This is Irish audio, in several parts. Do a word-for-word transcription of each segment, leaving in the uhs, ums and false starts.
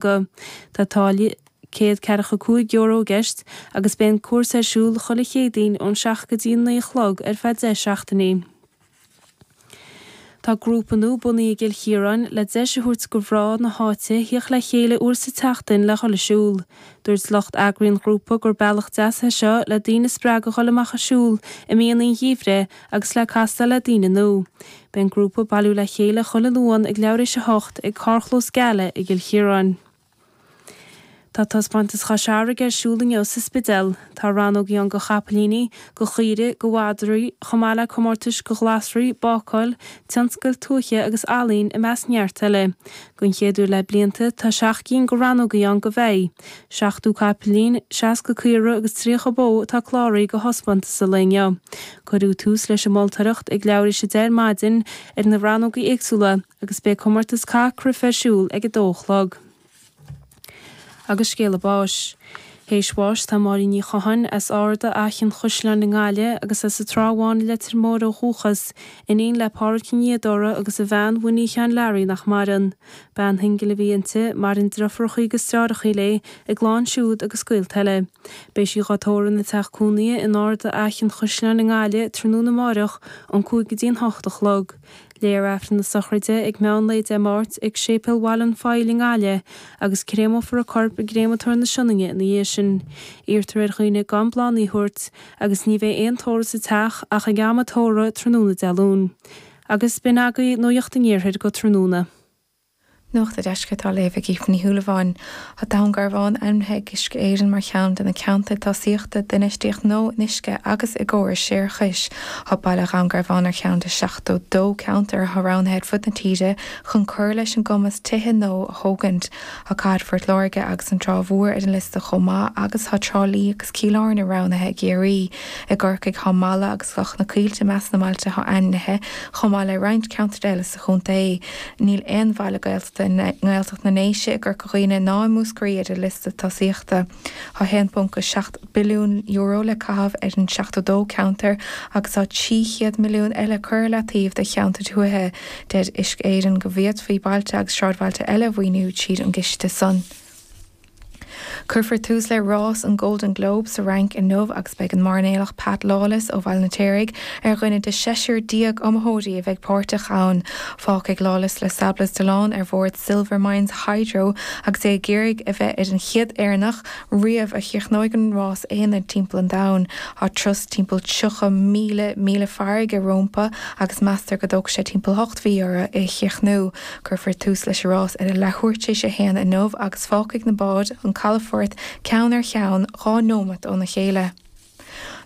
Go. Tá táille céad ceathracha cúig euro i gceist agus beidh an cúrsa ar siúl chuile Chéadaoin ón seacht go dtí an naoi a chlog ar feadh deich seachtainí. Tá grúpa nua bunaithe i gCill Chiaráin le deis a thabhairt do mhná na háite theacht le chéile uair sa tseachtain le dhul ag siúl. Dúirt lucht eagraithe an ghrúpa gur bealach deas é seo le daoine a spreagadh a dhul amach ag siúl i míonna an gheimhridh agus le castáil le daoine nua. Beidh an grúpa ag bailiú le chéile chuile Luan ag leathuair théis a hocht ag carrchlós Geala i gCill Chiaráin. Tá taispeántas Chois Fharraige ar siúl inniu sa Spidéal. Tá rannógaí ann do chapaillíní, do chaoirigh, do mhadraí, chomh maith le comórtais do ghlasraí, bácáil, tionscail tuaithe agus ealaín i measc neart eile. Don chéad uair le blianta, tá seacht gcinn de rannógaí ann do bheithígh. Seachtó capaillín, seasca caora agus tríocha bó atá cláraithe do thaispeántas an lae inniu. Cuireadh tús leis an moltóireacht ag leathuair théis a deich ar maidin ar na rannógaí éagsúla agus beidh comórtas caith cruife ar siúl ag a dó a chlog. Agus scéala báis. Théis bháis tá Máirín Ní Chatháin as Ard Fhaiche an Chaisleáin i nGaillimh agus as an Trá Bháin i Leitir Móir ó dhúchas, iníon le Pádraig Ó Niadóra agus a bhean Winnie Sheáin Learaí nach maireann. Bean shingil a bhí inti, maireann deirfiúracha agus deartháireacha léi, a clann siúd agus gaolta eile. Beidh sí dhá tórramh ina teach cónaithe in Ard Fhaiche an Chaisleáin i nGaillimh tráthnóna amárach ón cúig go dtí an hocht a chlog. Léifear Aifreann na sochraide ag meán lae Dé Máirt ag Séipéal Bhaile an Phoill i nGaillimh agus créamófar a corp i gcréamatóir na Sionainne ina dhiaidh sin. Iarrtar ar dhaoine gan bláthanna a thabhairt agus ní bheidh aon tórramh sa teach ach ag am an tórraimh tráthnóna Dé Luain. Agus b'in agaibh Nuacht an Iarthair go tráthnóna. Nuacht an Deiscirt á léamh ag Aoife Ní Shúilleabháin. Tá Dún Garbhán ainmnithe ag Uisce Éireann mar cheann de na ceantair tosaíochta d'infheistíocht nua in uisce agus i gcórais séarachais. Tá baile Dhún Garbhán ar cheann de seachtó dó ceantar atá roghnaithe ar fud na tíre chun cur leis an gcumas tithe nua a thógaint. Tá Cathair Phort Láirge agus an Trá Mhór ar an liosta chomh maith agus tá Trá Lí agus Cill Airne roghnaithe i gCiarraí. I gCorcaigh tá Mala agus Cloch na Coillte i measc na mbailte atá ainmnithe chomh maith le roinnt ceantar eile sa chontae. Níl aon bhaile Gaeltachta i nGaeltacht na nDéise, i gCorca Dhuibhne ná i Múscraí ar an liosta tosaíochta. Tá haon ponc a seacht billiún euro le caitheamh ar an seachtó dó ceantar agus tá trí chéad milliún eile curtha le taobh do cheantair tuaithe. Deir Uisce Éireann go bhféadfaí bailte agus sráidbhailte eile a mhaoiniú tríd an gciste san. Cuirfear tús le rás an Golden Globe sa Fhrainc inniu agus beidh an mairnéalach Pat Lawless ó Bhaile an Fheirtéaraigh ar dhuine de seisear déag iomaitheoirí a bheidh páirteach ann. Fágfaidh Lawless Les Sables d'Olonne ar bhord Silvermines Hydro agus é ag iarraidh a bheith ar an chéad Éireannach riamh a chríochnóidh an rás aonair timpeall an domhain. Tá turas timpeall tríocha míle míle farraige rompu agus meastar go dtógfaidh sé timpeall ocht mhí orthu é a chríochnú. Cuirfear tús leis an rás ar a leathuair tar éis a haon inniu agus fágfaidh na báid an calafort ceann ar cheann dhá nóiméad óna chéile.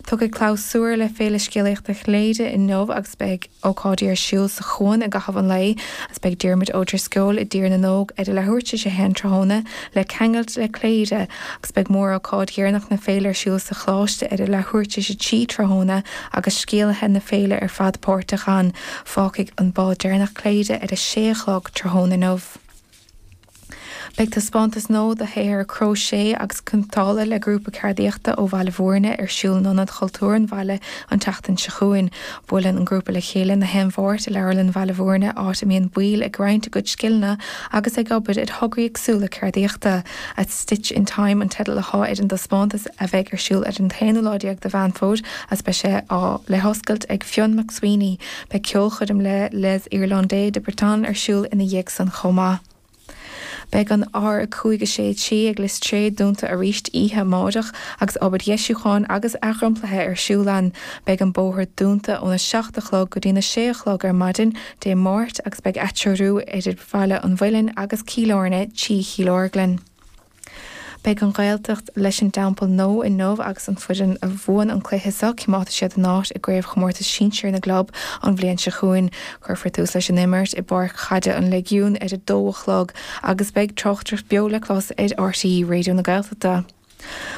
Tiocfaidh clabhsúr le Féile Scéalaíochta Chléire inniu agus beidh ócáidí ar siúl sa Chuan i gcaitheamh an lae agus beidh Diarmuid Ó Drisceoil i dTír na nÓg ar a leathuair tar éis a haon tráthnóna le Ceangailt le Cléire agus beidh mórócáid dheireanach na féile ar siúl sa Choláiste ar a leathuair tar éis a trí tráthnóna agus scéalaithe na féile ar fad páirteach ann. Fágfaidh an bád deireanach Cléire ar a sé a chlog tráthnóna inniu. Beidh taispeántas nua de shaothar cróiséis agus cniotála le grúpa ceardaíochta ó Bhaile Bhúirne ar siúl in Ionad Chultúir an bhaile an tseachtain seo chugainn. Buaileann an grúpa le chéile na haon Mháirt i Leabharlann Bhaile Bhúirne, áit a mbíonn baill ag roinnt a gcuid scileanna agus ag obair ar thograí éagsúla ceardaíochta. A Stitch in Time an teideal atá ar an dtaispeántas a bheidh ar siúl ar an t-aonú lá déag de Mheán Fómhair agus beidh sé á le hoscailt ag Fionn McSweeney. Beidh ceolchoirm le Les Irlandais de Bretagne ar siúl ina dhiaidh san chomh maith. Beidh an R a cúig a sé trí ag Lios Tréad dúnta arís oíche amárach agus obair dheisiúcháin agus athdhromchlaithe ar siúl ann. Beidh an bóthar dúnta óna seacht a chlog go dtína sé a chlog ar maidin Dé Máirt agus beidh atreorú idir Bhaile an Mhuilinn agus Cill Airne trí Chill Orglan. Beidh an Ghaeltacht leis an dTeampall Nua inniu agus an foireann a bhuann an cluiche seo, coimeádfaidh siad a n-áit i gcraobhchomórtas sinsir na gclub an bhliain seo chugainn. Cuirfear tús leis an imirt i bPáirc Chaide an Léigiúin ar a dó a chlog agus beidh tráchtaireacht beo le clos ar RTÉ Raidió na Gaeltachta.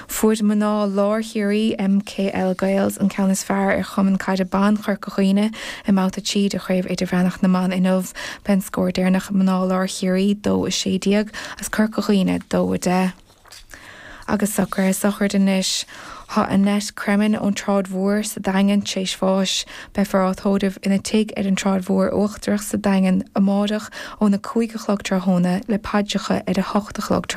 Fuair mná lár Chiarraí, MKL Gaels, an ceann is fearr ar Chumann Caide Ban Chorca Dhuibhne i mbabhta trí de Chraobh Idirmheánach na mBan inniu. B'é an scór deireanach mná lár Chiarraí dó a sé déag agus Corca Dhuibhne dó a deich. Agus socruithe sochraide anois. Tá Annette Cremin ón tSráid Mhór sa Daingean tar éis bháis. Beifear á tórramh ina tigh ar an tSráid Mhór Uachtarach sa Daingean amárach óna cúig a chlog tráthnóna le paidreacha ar a hocht a chlog